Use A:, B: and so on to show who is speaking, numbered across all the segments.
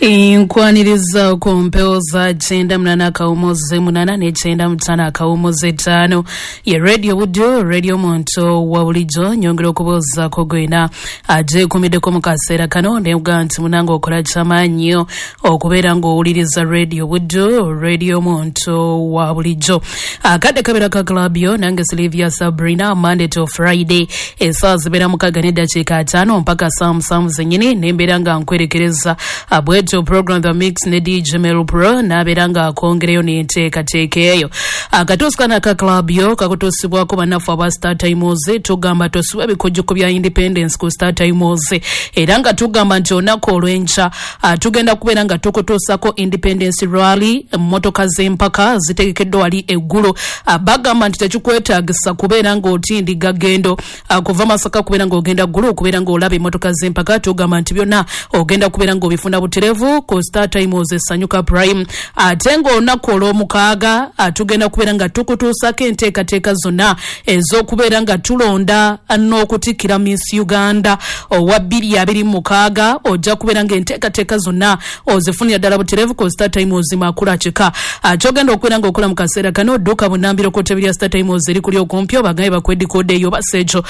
A: Nkwaniriza ku mpewo za 98.8 ne 95.5 ye Radio Buddu, Radio Muntu wa bulijjo. Nyongera okubuuzaako gwena agyekuumiddeko mu kaseera kano nebuga nti munange okola kyamaanyi okubeera ng'owuliriza Radio Buddu, Radio Muntu wa bulijjo. Akadde kabeera ka club yo nange Sylvia Sabrina, Monday to Friday essaawa zibeera 6:05 mpaka saa 7 zennyini, nembeera nga nkwerekereza bwetyo program The Mix ne DJ Mel Pro n'abeera nga akongereyo n'enteekateeka eyo. Akatuusi kano aka club yo kakutuusibwako bannaffe aba Star Times. Tugamba tosubwa ebikujjuko bya Independence ku Star Times, era nga tugamba nti olunaku olw'enkya tugenda kubeera nga tukutuusako Independence Rally. Emmotoka z'empaka zitegekeddwa wali eggulo. Bagamba nti tekikwetaagisa kubeera ng'otindiga gendo kuva Masaka kubeera ng'ogenda Ggulu okubeera ng'olaba emmotoka z'empaka. Tugamba nti byonna ogenda kubeera ng'obifuna buterevu ku Star Times Esanyuka Prime. Ate ng'olunaku olw'omukaaga tugenda kubeera nga tukutuusako enteekateeka zonna ez'okubeera nga tulonda n'okutikkira Miss Uganda owa 2026. Ojja kubeera ng'enteekateeka zonna ozifunira ddala buterevu ku Star Times Makula Kika. Ky'ogenda okubeera ng'okola mu kaseera kano, dduka bunambiro ku ttebe lya Star Times eri kuli okumpi, obagambe bakuwe dikooda eyo basa ekyo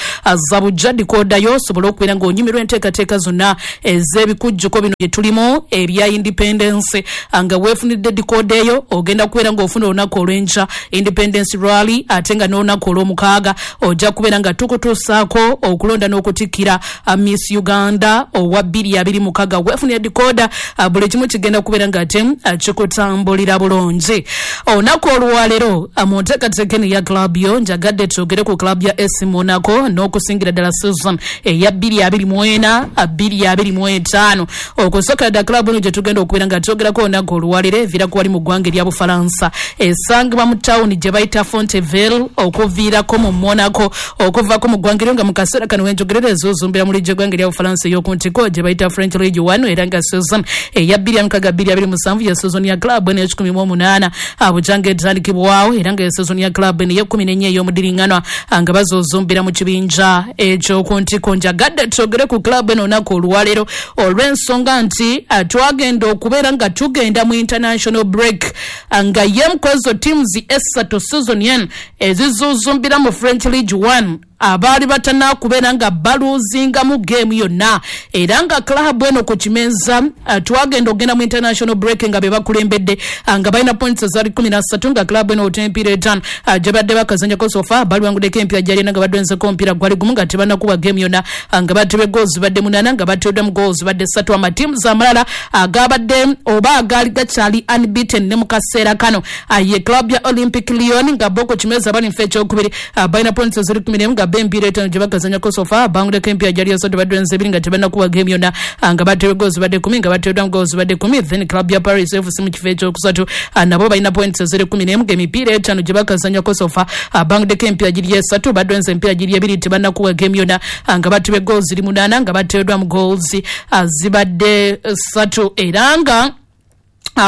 A: zabujja dikooda yo osobole okubeera ng'onyumirwa enteekateeka zonna ez'ebikujjuko bino bye tulimu ebya Independence. Nga weefunidde dikooda eyo ogenda kubeera ng'ofuna olunaku olw'enkya Independence Rally, ate nga n'olunaku olw'omukaaga ojja kubeera nga tukutuusaako okulonda n'okutikkira Miss Uganda owa 2026. Weefunira dikooda, buli kimu kigenda kubeera nga ate kikutambulira bulungi. Olunaku olwaleero mu nteekateeka eno eya club yo njagadde twogere ku club ya AC Monaco n'okusingira ddala season eya 2024 2025. Okusookera ddala club eno gye tugenda okubeera nga twogerako olunaku olwaleero eviirako wali mu ggwanga erya Bufalansa, esangibwa mu tawuni gye bayita Fonteville okuviirako mu Monaco, okuvaako mu ggwanga eryo nga mu kaseera kano wenjogerera ezuuzumbira mu liigi y'eggwanga erya Bufalansa ey'oku ntiko gye bayita French League 1, era nga season eya 2026 2027 ye season ya club eno ey'ekikumibwa bujanga etandikibwawo, era nga ye season ya club eno ey'ekkumi n'ennya ey'omudiriŋŋanwa nga bazuuzumbira mu kibinja eky'oku ntiko. Njagadde twogere ku club eno olunaku olwaleero olw'ensonga nti twagenda okubeera nga tugenda mu international break nga yemu kwezo teams esatu season yen ezizuuzumbira mu French League 1 abaali batanakubeera nga baluuzingamu geemu yonna, era nga club eno ku kimeeza twagenda okugenda mu international break nga be bakulembedde nga balina points ezaali 13, nga club eno ota emipiira 5 gye badde bakazannyako so far baliwanguddeko emipiira gyali ena nga badwenzeko omupiira gwali gumu, nga tebannakuba geemu yonna, nga batebye goals badde 8, nga bateereddwamu goals badde 3. Amatiimu amalala agabadde oba agaali gakyali unbeaten ne mu kaseera kano ye club ya Olympic Lyon, nga bo ku kimeeza bali nfa ekyokubiri, balina points eziri 11, nga bo emipiira 5 gye bakazannyako so far banguleko emipiira gyali 3, badwenze 2, nga tebannakuba geemu yonna, nga batebye goals badde 10, nga bateereddwamu goals badde 10. Then club ya Paris FC mu kifo ekyokusatu, nabo balina points eziri 11, nga emipiira 5 gye bakazannyako so far banguddeko emipiira giri 3, badwenze emipiira giri 2, tebannakuba geemu yonna, nga batebye goals ziri 8, nga bateereddwamu goals zibadde 3. Era nga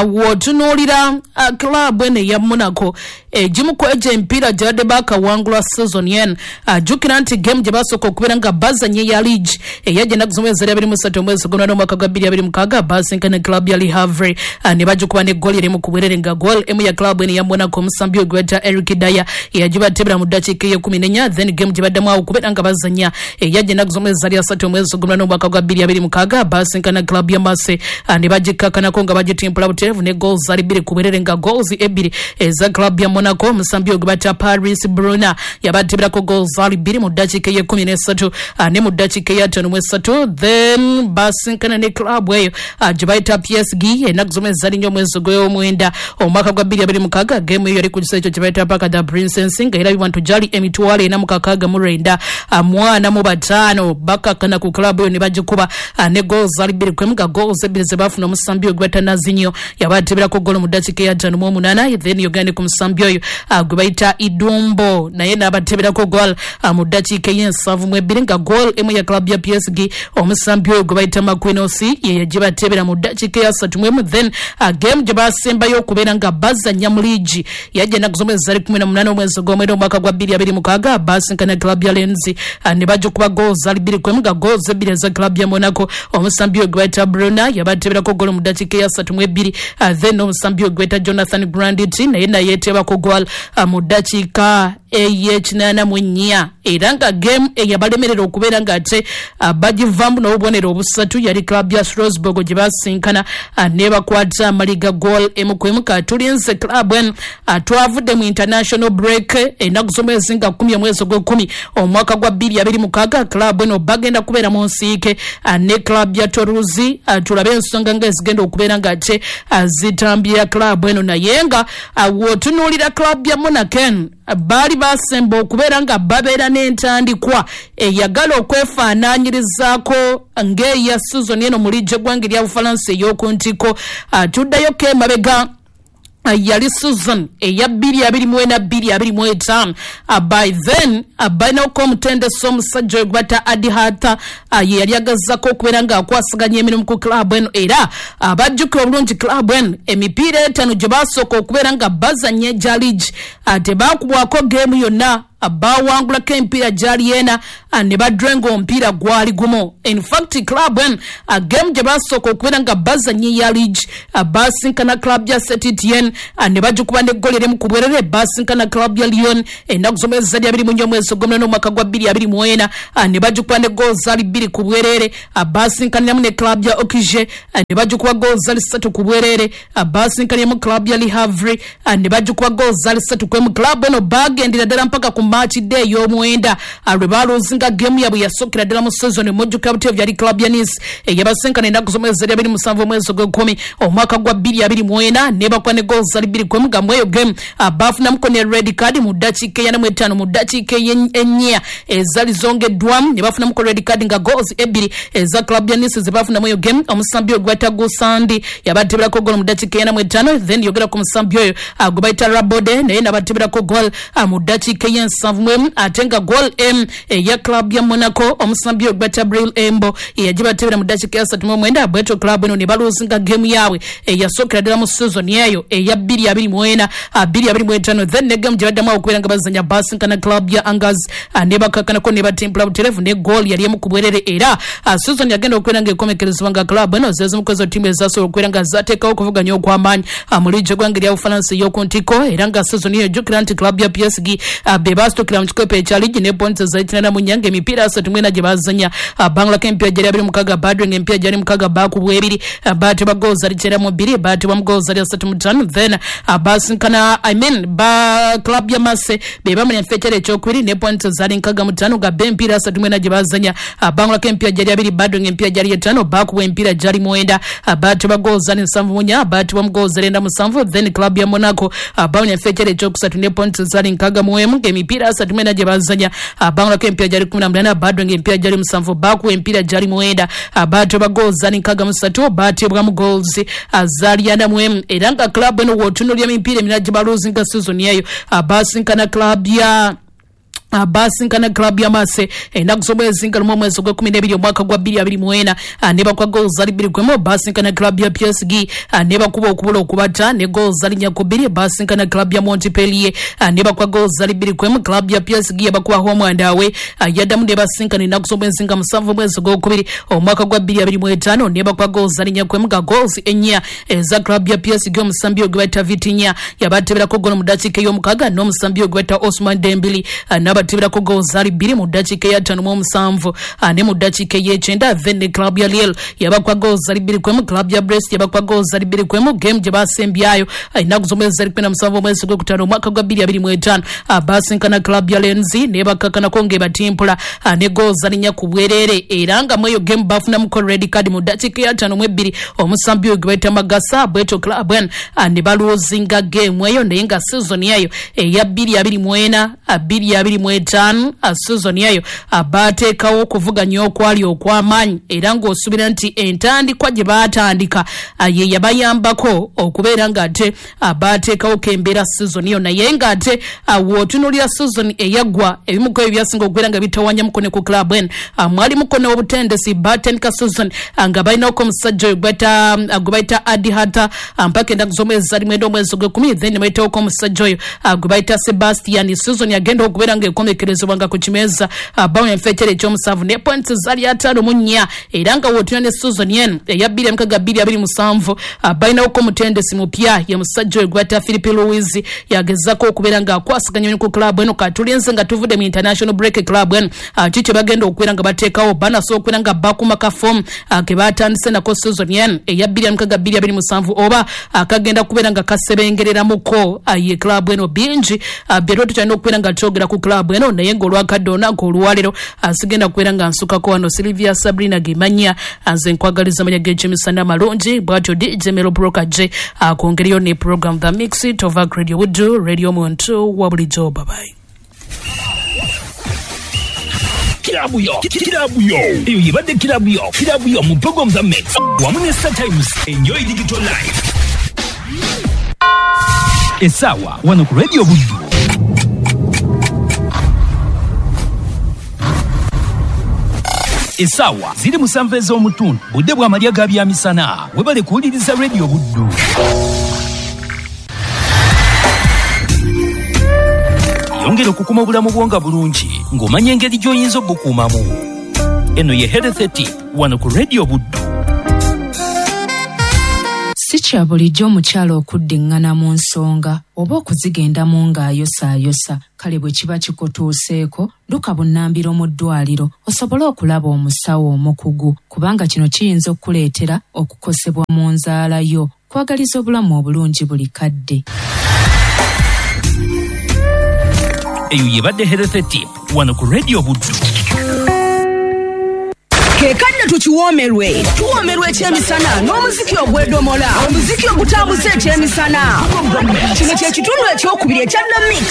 A: wotunuulira club eno eya Monaco, egimu ku egyo emipiira gye badde bakawangula season yen, jjukira nti game gye basooka okubeera nga bazanye eya league eyajja ennaku z'omwezi eri 23 omwezi gw'omunaana omwaka gwa 2026, basinkana club ya Le Havre ne bagikuba ne goal erimu ku bwerere, nga goal emu ya club eno eya Monaco omusambi ogweta Eric Dier yagibatebera mu ddakiika ey'ekkumi n'ennya. Then game gye baddamu awo okubeera nga bazanya eyajja ennaku z'omwezi eri 30 omwezi gw'omunaana omwaka gwa 2026, basinkana club ya Marseille ne bagikkakanako nga bagitimpula buterevu ne goals zali 2 ku bwerere, nga goals ebbiri eza club ya Monaco omusambi ogwe bata Paris Bruna yabateberako goals zali 2 mu ddakiika ey'ekkumi n'esatu ne mu ddakiika ey'ataano mu esatu. Then basinkana ne club eyo gye bayita PSG ennaku z'omwezi zali 4 omwezi gw'omwenda omwaka gwa 2026. Game eyo yali ku kisaawe ekyo kye bayita Parc des Princes, nga erabibwa nti gyali 469 45 bakakkana ku club eyo ne bagikuba ne goals zali 2-1, nga goals ebbiri ze baafuna omusambi ogwe bata Nazinho. Yabateberako golo mu ddakiika eya 58, then yogende ku musambi oyo gwe bayita Idumbo, naye n'abateberako gol mu ddakiika ey'ensanvu mu 2, nga gol emu ya club ya PSG, omusambi oyo gwe bayita Makwinosi, ye yagibatebera mu ddakiika eya 31. Then game gye basembayo okubeera nga bazannya mu liigi yajja ennaku z'omwezi zali 18 omwezi gw'omwenda omwaka gwa 2026, basinkana club ya Lens ne bajja okuba goals zali 2-1, nga goals ebbiri eza club ya Monaco, omusambi oyo gwe bayita Bruna yabateberako golo mu ddakiika eya 32, then omusambi oyo gwe bayita Jonathan Grandit naye nayeetebako goal mu ddakiika ey'e84. Era nga game eyabalemerera okubeera ng'ate bagivaamu n'obubonero obusatu yali club ya Strasbourg gye basinkana nebakwata amaliga goal 1-1. Katulinze club eno, twavudde mu international break ennaku z'omwezi nga 10 omwezi gw'ekumi omwaka gwa 2026. Club eno bagenda kubeera mu nsiike ne club ya Toulouse, tulabe ensonga nga ezigenda okubeera ng'ate zitambya club eno. Naye nga w'otunuulira club ya Monaco eno, baali basemba okubeera nga babeera n'entandikwa eyagala okwefaanaanyirizaako ng'eya season eno mu liigi eggwanga erya Bufalansa ey'oku ntiko. Tuddayoko emabega, yali season eya 2024 2025. By then balinako omutendesi omusajja oyo gwebata Adi Hata, ye yali agazako okubeera ng'akwasaganya emirimu ku club eno. Era bajjukira obulungi club eno, emipiira etaano gye basooka okubeera nga bazannya egya liigi, tebakubwako geemu yonna. Bawangulako emipiira gyali ena ne badrenga omupiira gwali gumu. In fact, club eno, game gye basooka okubeera nga bazannya eya liigi, basinkana club ya Saint-Etienne ne bagikuba n'eggoli erimu ku bwerere. Basinkana club ya Lyon ennaku z'omwezi zali 24 omwezi ogw'omunaana omwaka gwa 2024, ne bagikuba ne goal zali 2 ku bwerere. Basinkaniramu ne club ya Auxerre ne bagikuba goal zali 3 ku bwerere. Basinkaniramu club ya Le Havre ne bagikuba goal zali 3-1. Club eno bagendera ddala mpaka ku match day ey'omwenda lwe baluzinga game yabwe yasookera ddala mu season. Mujjukira buteevu yali club ya Nice eyabasinkana ennaku z'omwezi zali 27 omwezi ogw'ekumi omwaka gwa 2024, ne bakuba ne goal zali 2-1, nga mweyo game bafunamuko ne red card mu ddakiika e45, mu ddakiika ennya ezali zongeddwamu ne bafunamuko red card, nga goals ebbiri eza club ya Nice ze bafunamu eyo game, omusambi oyo gwayita Gusandi yabateberako goal mu ddakiika e45. Then yogera ku musambi oyo gwe bayita Rabode, naye nabateberako goal mu ddakiika ey'e71, ate nga goal m eya club ya Monaco, omusambi oyo gwayita Breel Embolo, yagibatebera mu ddakiika ya 39. Bwetyo club eno ne baluzinga game yaabwe eyasookera ddala mu season eyo eya 2024 2025. Then ne game gye baddamu okubeera nga bazanya, basinkana club ya Angers ne bakakkanako ne batimpula buterevu ne goal yali 1 ku bwerere. Era season yagenda okubeera nga ekomekerezebwa nga club eno zezimu ku ezo ttiimu ezasobola okubeera nga zateekawo okuvuganya okw'amaanyi mu liigi eggwanga erya Bufalansa ey'oku ntiko. Era nga season eyo, ejjukira nti club ya PSG be baasitukira mu kikopo ekya liigi ne points za 84, nga emipiira 34 gye bazanya, bangulako emipiira gyali 26, badrenga emipiira gyali 6, bakubwa ebiri, baatebwa goals ali 92, baatebwa mu goals ali 35. Then basinkana, I mean, ba club ya Marseille be bamanya ekifo ekyokubiri ne points zaali 65, nga be emipiira 34 gye bazanya, bangulako emipiira gyali 2, badrenga emipiira gyali 5, bakubwa emipiira gyali 9, baatebwa goals zali 74, baatebwa mu goals 97. Then club ya Monaco bamanya ekifo ekyokusatu ne points zaali 61, nga emipiira 34 gye bazanya, bangulako emipiira gyali 18, badrenga emipiira gyali 7, bakuwa emipiira gyali 9, baatebwa goals zali 63, baatebwamu goals zaali 41. Era nga club eno w'otunuulira emipiira emirala gye baluzinga season eyo, basinkana club ya Marseille ennaku z'omwezi nga 1 omwezi ogw'e12 omwaka gwa 2024, ne bakuba goals zali 2-1. Basinkana club ya PSG ne bakuba okubula okubata ne goals zali 4-2. Basinkana club ya Montpellier ne bakuba goals zali 2-1. Club ya PSG yabakuba home and away. Yaddamu ne basinkana ennaku z'omwezi nga 7 omwezi ogwokubiri omwaka gwa 2025, ne bakuba goals zali 4-1, nga goals ennya eza club ya PSG, omusambi ogwe bayita Vitinha yabateberako golo mu ddakiika ey'omukaaga, n'omusambi ogwe bayita Osman Dembele n'abateberako goals zali 2 mu ddakiika eya 57 ne mu ddakiika ey'ekyenda. Then ne club ya Lille yabakuba goals zali 2-1. Club ya Brest yabakuba goals zali 2-1. Game gye basembyayo ennaku z'omwezi zali 17 omwezi gw'okutaano omwaka gwa 2025, basinkana club ya Lens ne bakakkanako ng'ebatimpula ne goals zali 4 ku bwerere. Era nga mu eyo game bafunamuko red card mu ddakiika eya 52, omusambi oyo gwe bayita Magasa. Bwetyo club eno ne baluzinga game eyo, naye nga season eyo eya 2024 25 season yayo bateekawo okuvuganya okwali okw'amaanyi era ng'osuubira nti entandikwa gye baatandika ye yabayambako okubeera ng'ate bateekawo kembeera season yo. Naye ng'ate w'otunuulira season eyaggwa, ebimu ku ebyo byasinga okubeera nga bitawanyamuko ne ku club eno mwalimuko n'obutendesi. Batandika season nga balinako omusajja oyo gwe bayita Adi Hata mpaka ennaku z'omwezi ali 9 omwezi ogw'ekumi, then ne bayitawoko omusajja oyo gwe bayita Sebastian. Season yagenda okubeera ng'ekomekerezebwa nga ku kimeeza bawo enfekyere ekyomusanvu ne points zali 54, era nga w'otunula ne season eno eya 2026 27 balinawoko omutendesi mupya, ye musajja oyo gwe bayita Philip Louis, yagezaako okubeera ng'akwasaganya ku club eno. Katulinze nga tuvudde mu international break, club eno ki kye bagenda okubeera nga bateekawo? Banasobola okubeera nga bakuma ka form ke batandise nako season eno eya 2026 oba akagenda kubeera nga kasebengereramuko ye club eno? Bingi byetwa tukyalina okubeera nga twogera ku club eno, naye ng'olwakadde olunaku olwaleero sigenda kubeera nga nsukako wano. Sylvia Sabrina Gemanya nze nkwagaliza amanya g'ekyemisana amalungi. Bwatyo DJ Melo Broker J akwongereyo ne program The Mix Tova Radio Buddu, radio muntu wa bulijjo. Babayi.
B: Kirabu yo, kirabu yo, eyo yebadde kirabu yo, kirabu yo mu program za Mix wamu ne Star Times. Enjoy digital life. Essaawa wano ku Radio Buddu essaawa ziri 7 ez'omutundu, budde bw'amalya ga byamisana. Webale kuwuliriza Radio Buddu. Yongera okukuma obulamu bwo nga bulungi ng'omanya engeri gy'oyinza obukuumamu. Eno ye Health Tip wano ku Radio Buddu.
C: Si kya bulijjo omukyala okuddiŋŋana mu nsonga oba okuzigendamu ng'ayosaayosa. Kale bwe kiba kikutuuseeko, dduka bunnambiro mu ddwaliro osobole okulaba omusawo omukugu, kubanga kino kiyinza okukuleetera okukosebwa mu nzaala yo. Kwagaliza obulamu obulungi buli kadde.
B: Eyo yebadde Health Tip wano ku Radio Buddu.
D: Kekadde tukiwoomerwe, tuwoomerwa ekyemisana n'omuziki ogwedomola, omuziki ogutambuza ekyemisana. Kino kye kitundu ekyokubiri ekya The Mix.